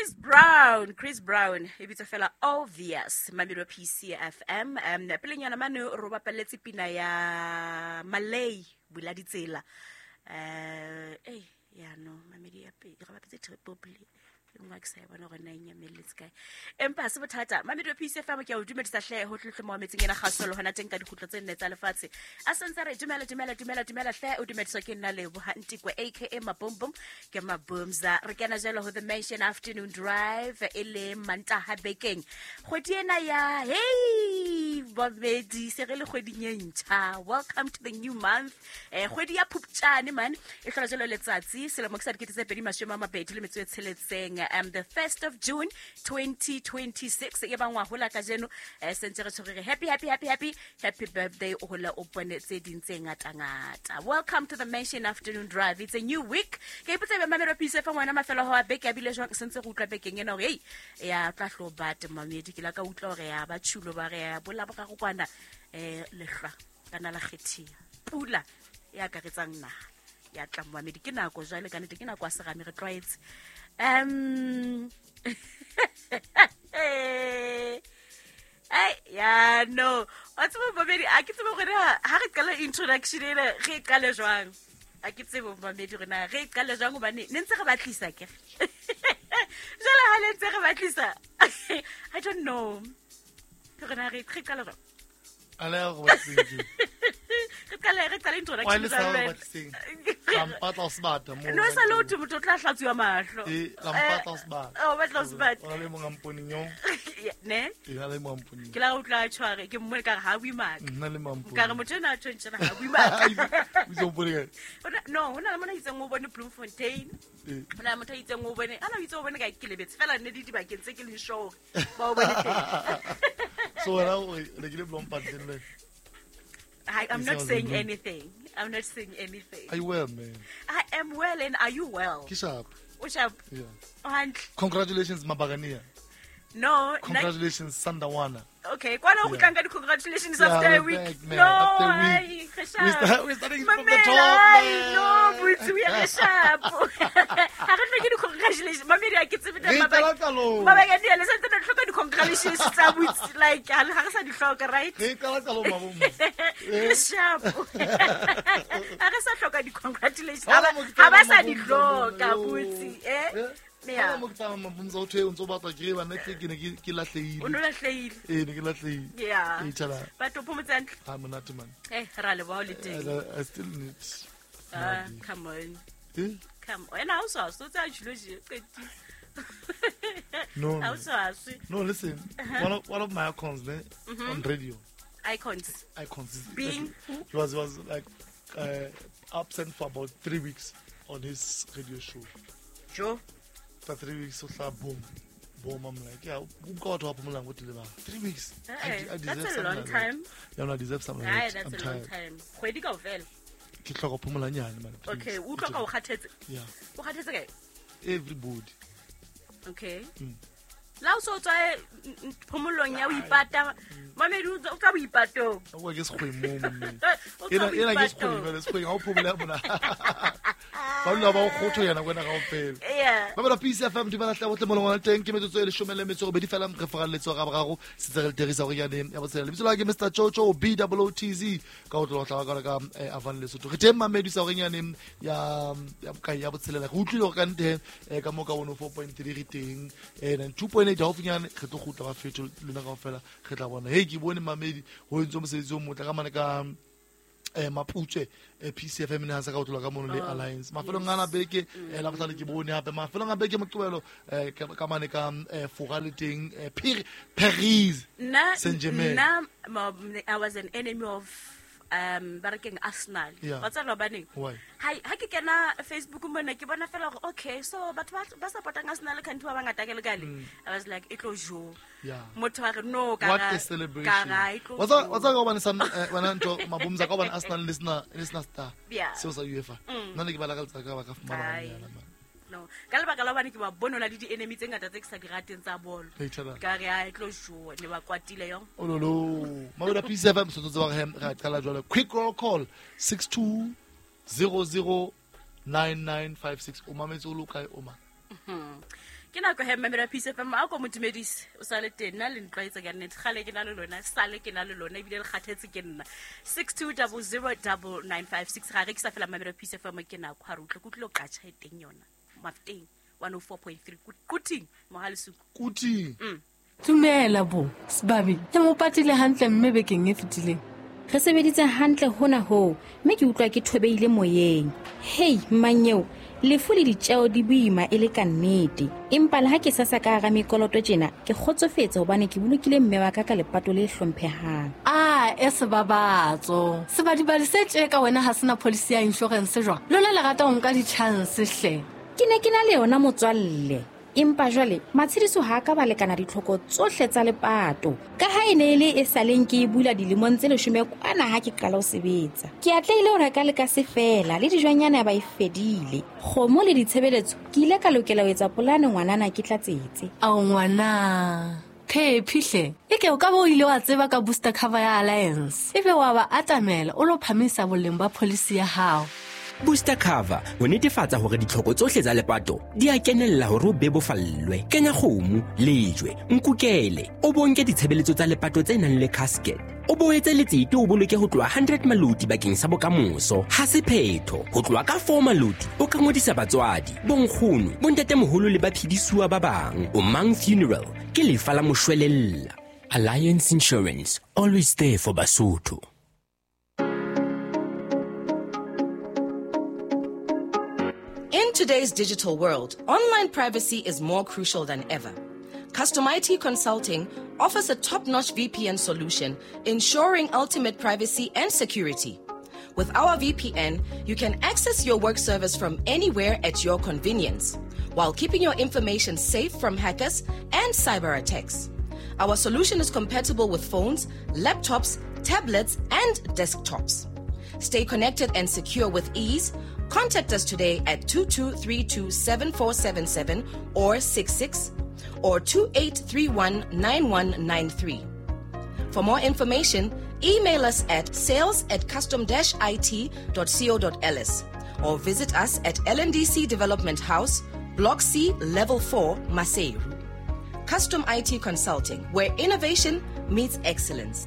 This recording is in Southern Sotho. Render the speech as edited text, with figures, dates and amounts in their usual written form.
Chris Brown, Chris Brown e bitsa fela Obvious, Mamelodi PCFM. Pelenyana mane ro bapaletse pina ya Malay bula ditsela. Ya no, Mamedi ya pele, re bapetse triple play. E nngwe ha ke sa e bona hore na e nyamelletse kae. Empa ha se bothata. Mamelodi PCFM ke a o dumedisa hle ho tle mo metseng ena kgasolo hona teng ka dikgutlo tse nne tsa lefatshe. A sentse re dumela dumela dumela dumela hle o dumediswa ke nna Leboha Ntikwe aka Mabombom ke Mabumza. Re kena jalo ho The Mansion Afternoon Drive e le Mantaha bekeng. Kgwedi ena ya hey babedi se re le kgweding e ntjha. Welcome to the new month. Kgwedi ya Phupjane man e hlola jalo letsatsi selemo ke sa 2026. The 1st of June 2026 e bangwa hola kajeno sentse re tshwere happy happy happy happy happy birthday o hola o bone tse ding tse ngata-ngata. Welcome to the Mansion Afternoon Drive. It's a new week. Ke ipotsa be mamelo pise fa ngwana mafelo ho a beke a bile jwang sentse go utlwa bekeng ena hore hey ya tla hlo bate mamedi ke la ka utlwa hore ya ba tshulo ba re ya bola boraro kwana lehlwa kana la kgethia pula ya akaretsang naha ya tla mamedi ke nako jwale ka nnete ke nako ya serame re tlwaetse. Ya no wa tseba mamedi a ke tsebe gore ha re qala introduction ena re e qale jwang. A ke tsebe mamedi gore na re e qale jwang hobane ne ntse re batlisa ke jwale ha le ntse re batlisa I don't know gore na re qale jwang. Ale go batliseng. Re qale introduction. Wa le sa go batliseng. La mpatla o sebata mo. No sa le o motho o tla hlatsuwa mahlo. La mpatla o sebata. O batla o sebata. O na le mong a mponeng yo. Ne? E na le mong a mponeng. Ke la utlwa a tshware ke mmone ka re ha bue maka. Nna le mong a mponeng. Ka re motho ena a tshwentse ha bue maka. O itse o mpone kae? No, ho na le mona itseng o bone Bloemfontein. Ho na le motho a itseng o bone, ana o itse o bone kae ke lebetse fela nne le dibakeng tse ke leng sure ba o bone teng. So wena o rekile Bloemfontein le? I'm not saying anything. I'm not saying anything. Are you well, man? I am well, and are you well? Ke sharp. O sharp? Yeah. O hantle. Congratulations, Mabagania. No. Congratulations, Sandawana. Okay, kwana o kgutlang ka di-congratulations after a week. Back, man. No, after a week. We're starting from the top, man. No, botse, we are sharp. Ha re hloke di-congratulations. Mamedi, ha ke tsebe Re qala qalong. Mabaka le santse re hloka di-congratulations tsa botse, like, ha re sa di hloka, right? Re qala qalong, mabong. Re sharp. Ha re sa hloka di-congratulations. Ha ba sa di hloka, botse, eh? Yeah. Mo ke tsamaya mabumza o thwe o ntso batla ke ba nna ke ne ke lahlehile. O no lahlehile. Ee, ne ke lahlehile. Yeah. E tjhala. But o phomotse hantle. Ha monate man. Ra leboha o le teng. I still need. Come on. Eh? Come on. Ena ha o swaswe, o tsa tjhilo je, qetile. No. Ha o swaswe. No, listen. One of my icons ne, on radio. Icons. Icons. Being who? He was like absent for about 3 weeks on his radio show. Joe. For 3 weeks, so boom, boom. I'm like, yeah, who got up? 3 weeks. Hey, I deserve that's a long like time. That. Yeah, no, I deserve something like that. That's a long time. Kgwedi kaofela. Ke hloka phomola nyane, man. Okay, o utlwa ka o kgathetse. Yeah. O kgathetse kae? Everybody. Okay. La o so tswa phomolong ya o ipata. Mamedi o tswa boipatong. O ke sekgweng mo mme. Ena ke sekgweng, jwale sekgweng ha o phomola ya mona. Ba lula ba o kgotho yena kwena kaofela. Yeah. Ba bala Peace FM di bala hle botle mo lengwana teng ke metsotso e 18 fela re faralletse ga boraro setse re terisa gore yane ya botshela. Lebitso la ke Mr Chocho B O O T Z ka o tlola ka ka Avan Lesotho. Re teng mamedi sa gore yane ya bokae ya botshelela. Re utlwile gore ka nte ka mo ka 104.3 re teng 2.8 haufinyane re tlo kgutla ba fetho lona kaofela re tla bona. Hey ke bone mamedi ho entse mosebetsi o motle ka mane ka Maputswe PCFM ne ha sa ka otlola ka mono le Alliance mafelong ana beke la bohlale ke bone hape mafelong a beke moqebelo ka mane ka Fora le teng Paris Saint-Germain. Nna I was an enemy of ba re keng Arsenal. Wa tseba hobaneng? Ha ke kena Facebook mona ke bona fela hore okay so batho ba supportang Arsenal country ba bangata ke le kale. I was like e tlo jo. Motho a re no ka what a celebration. Wa tseba ka hobane sa wena ntho mabumza ka hobane Arsenal le sena star. Seo sa UEFA. Nna ne ke ba lakaletsa ka ba ka fumana banyana man. No, ka lebaka la hobane ke ba bone la le di-enemy tse ngata tse ke sa di rateng tsa bolo. Ka re a e tlo jowa, ne ba kwatile yo. Ololo. Mabela Peace FM sotso tse ba re ra qala jwale. Quick roll call 62009956. O mametse o lo kae o ma? Ke nako he mmamela Peace FM, a ko mo dumedise o sa le teng. Nna le ntlwaetse ka nnete, gale ke na le lona, sale ke na le lona, ebile le kgathetse ke nna. 62009956 ga rekisa fela. Mmamela Peace FM, ke nako ga re utlwe ke utlwile o qatšha e teng yona Mafeteng 104.3 Quthing, Mohalesuku. Quthing. Dumela bo sebabi, ke mo patile hantle mme bekeng e fetileng. Re sebeditse hantle hona hoo, mme ke utlwa ke thobeile moyeng. Hei mmanyeo, lefu le ditjeo di boima e le ka nnete, empa le ha ke sasa ka hara mekoloto tjena, ke kgotsofetse hobane ke bolokile mme wa ka ka lepato le hlomphehang. A e sebabatso sebadibadi se tje ka wena ha sena policy ya insurance jwang? Lona le rata ho nka di-chance hle. Ke ne ke na le yona motswalle, empa jwale matshediso ha a ka ba lekana ditlhoko tsohle tsa lepato, ka ha e ne e le e saleng ke e bula dilemong tse 10 kwana ha ke qala ho sebetsa. Ke atlehile ho reka le ka se fela le dijwanyana ba e fedile, kgomo le ditshebeletso. Ke ile ka lokela ho etsa polane ngwanana ke tlatsetse. Ao ngwana phephihle, e ke o ka ba o ile wa tseba ka booster cover ya Alliance, ebe wa ba atamela o lo phamisa boleng ba policy ya hao. Booster cover ho netefatsa hore ditlhoko tsohle tsa lepato di a kenella hore o bebofallwe. Kenya kgomo, lejwe, nkukele, o bonke ditshebeletso tsa lepato tse nang le casket, o bo etse letsete, o boloke ho tloha 100 maloti bakeng sa bokamoso. Ha se phetho, ho tloha ka 4 maloti o ka ngodisa batswadi, bonkgono, bontatemoholo le baphedisuwa ba bang. O Mang Funeral ke lefa la moshwelella. Alliance Insurance, always there for Basotho. In today's digital world, online privacy is more crucial than ever. Custom IT Consulting offers a top-notch VPN solution, ensuring ultimate privacy and security. With our VPN, you can access your work servers from anywhere at your convenience, while keeping your information safe from hackers and cyber attacks. Our solution is compatible with phones, laptops, tablets, and desktops. Stay connected and secure with ease. Contact us today at 22327477 or 66 or 28319193. For more information, email us at sales@custom-it.co.ls or visit us at LNDC Development House, Block C, Level 4, Maseru. Custom IT Consulting, where innovation meets excellence.